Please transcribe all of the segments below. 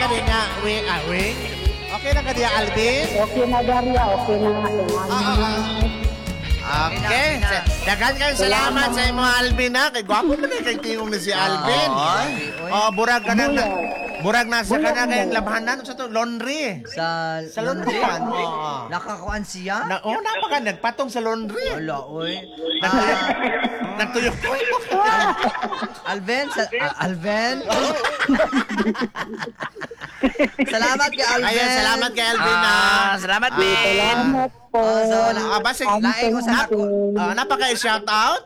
ka din nga, wing, ah, wing? Okay lang ka diya, Alvin? Okay na, Daria. Okay na. Ah. Okay. Daghan kayong salamat sa imo, Alvin, ha. Kay gwapo man eh, kay tingog ni si Alvin. Oh, burag ka na. Burag na sa kana kayong labhanan sa to laundry. Sa, Sa laundry man. Oo. Nakakuan siya? Na, oh, napaka nagpatong sa laundry. Wala, oy. Nagtuyok. Nagtuyok. Alvin, sa, Alvin. Salamat kay Alvin. Ayun, salamat kay Alvin, ha. Ah, salamat, Ben. Salamat po. Oh, so, Ah, basig. Laing ko sa ako. Ah, napaka shout out.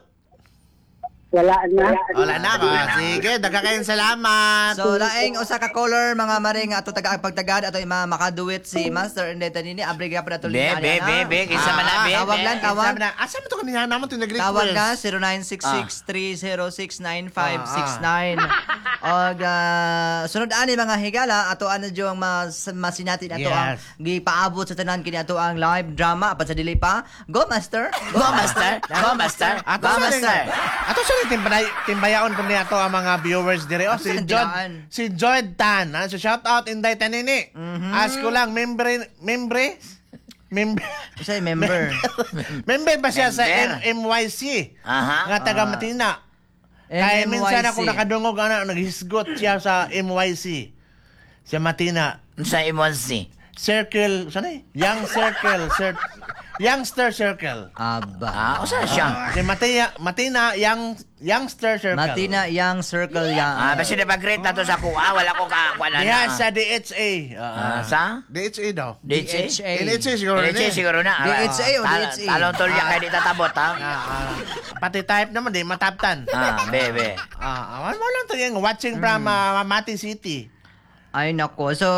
Wala na. Wala na. Ah, sige, daghan kayong salamat. So laing usa ka caller, mga maring, ato taga ang pagtagad ato ima makaduet si Master and Tanini abri gyapon ato Be, linya be, na. be, be, kinsa man na, be, Tawag be. lang, tawag. Sabi na, asa mo to kanina naman to nag-request? Tawag na 0966-306-9569. Og sunod ani, mga higala, ato ano jud ang masinatin ato ang gipaabot sa tanan kini ato ang live drama apan sa dili pa. Go, Master. Go, Master. Go, Master. Ato Go, sa Master. Ato sa timbay timbayaon po niya ato ang mga viewers dire. Oh, Ato si sa Jod dilaan. si Joyd Tan. Ano, so shout out Inday Tanini. Ask ko lang, membre membre membre Unsay member? member ba siya sa Member. MMYC? Aha. Nga taga Matina. Kaya minsan ako nakadungog ana naghisgot siya sa MYC. Sa Matina. Sa Imonsi. Circle, saan eh? Young Circle, Youngster Circle. Aba. Ah, usa siya. Si Matina, Matina Young Youngster Circle. Matina Young Circle ya. Ah, basta na pag-greet na to sa kuha, wala ko ka kuha na. Diha sa DHA. Ah, sa? DHA daw. DHA? DHA. NHA siguro na. DHA siguro na. DHA o DHA? Talong tulya kay di tatabot, ha? Ah, ah. Pati type naman, di mataptan. Ah, be, be. Ah, ah, mo lang to yung watching from Mati City. Ay nako. So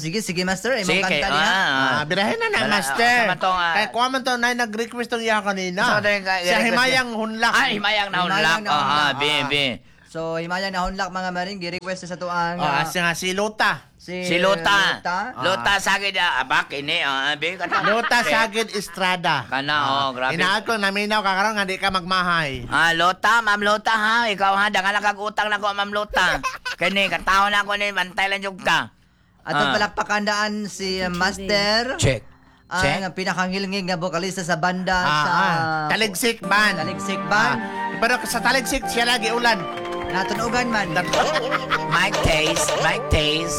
sige, sige, Master, imong Sige, kanta niya. ah. Ah, birahin na na, Wala, Master. sama tong, Kaya kuha man to na nag-request tong iya kanina. Sa to yung Sa request Himayang Hunlak. Ah, himayang na unlock. Himayang na Ah, unlock. be, be. So himayang na hunlak, mga maring, gi-request sa tuang Ah, siya nga si Lota. si Si Lota. Lota. Lota sagid ah, abak ini ah, be kana. Lota Sagid Estrada. Kana oh, grabe. Inaad ko naminaw ka karon nga di ka magmahay. Ah, Lota, Ma'am Lota ha, ikaw ha, daghan lang kag utang nako, Ma'am Lota. Kani katao na ako ni bantay lang jud ka. Atong Ah. palakpakan daan si Master. Check. Check. Ang pinakangilngig nga bokalista sa banda Ah, sa ah. Taligsik Band. Taligsik Band. Ah, pero sa Taligsik siya lagi ulan. Natunugan man. Mic taste, mic taste.